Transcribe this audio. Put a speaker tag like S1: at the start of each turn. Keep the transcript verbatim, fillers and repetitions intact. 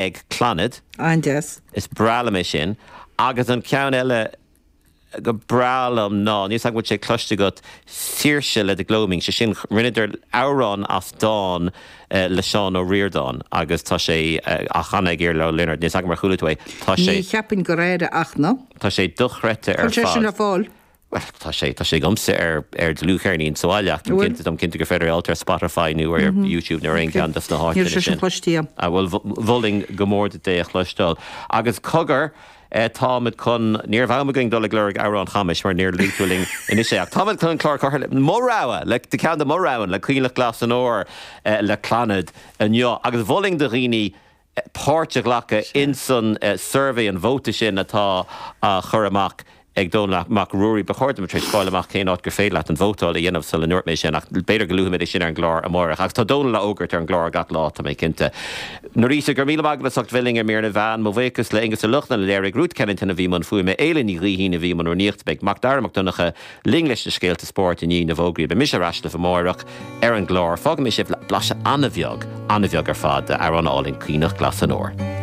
S1: ag Clannad.
S2: An-deas.
S1: Is breá liom é sin. Agus an ceann eile go breá liom ná, níl 's agam an bhfuil sé cloiste agat, Saoirse le The Gloaming, sé sin rinneadar amhrán as dán le Seán Ó Ríordáin agus tá sé á chanadh ag Iarla Ó Lionáird, níl 's agam ar chuala tú é, tá sé.
S2: Ní cheapfainn gur aire ach ná.
S1: Tá sé dochreidte ar
S2: fad. Tá sé sin le fáil.
S1: Bhuel, tá sé, tá sé agamsa ar, ar dlúthcheirnín sa bhaile ach táim cinnte, táim cinnte gur féidir é a fháilt ar Spotify nó ar YouTube nó ar aon cheann dos na
S2: háiteanna sin. Níl sé sin cloiste agam.
S1: Bhuel, mholfainn go mór duit é a chloisteáil. Agus cogar, táimid chun, ní raibh am againn dul ag lorg amhrán Chamais mar níor luaigh tú linn anois é ach táimid chun an clár a chur le mo rogha, le ceann de mo roghanna, le Coinnleach Glas an Óir le Clannad inniu. Agus mholfainn do dhaoine páirt a ghlacadh insan suirbhé, an vóta sin atá á chur amach ag Dónall Mac Ruairí. Ba chóir dom tar éis fáil amach cén áit gur féidir leat an vótáil a dhéanamh sula ndúirt mé sin, ach b'fhéidir go luafaimid é sin ar an gclár amárach. Agus tá Dónall á fhógairt ar an gclár gach lá, tá mé cinnte. Norita, go raibh míle maith agat as ucht bheith linn ar Mír na Meán. Mo bhuíochas le Aonghus Ó Lochlainn a léirigh, Ruth Kennington a bhí i mbun fuaime, Éile Ní Ghaoithín a bhí i mbun rúnaíochta. Beidh Macdara Mac Donncha linn leis na scéalta spóirt i ndiaidh na bhfógraí. Beidh mise ar ais libh amárach ar an gclár. Fágfaidh mé sibh le blaiseadh an-bheag, an-bheag ar fad d'amhrán álainn Coinnleach Glas an Óir.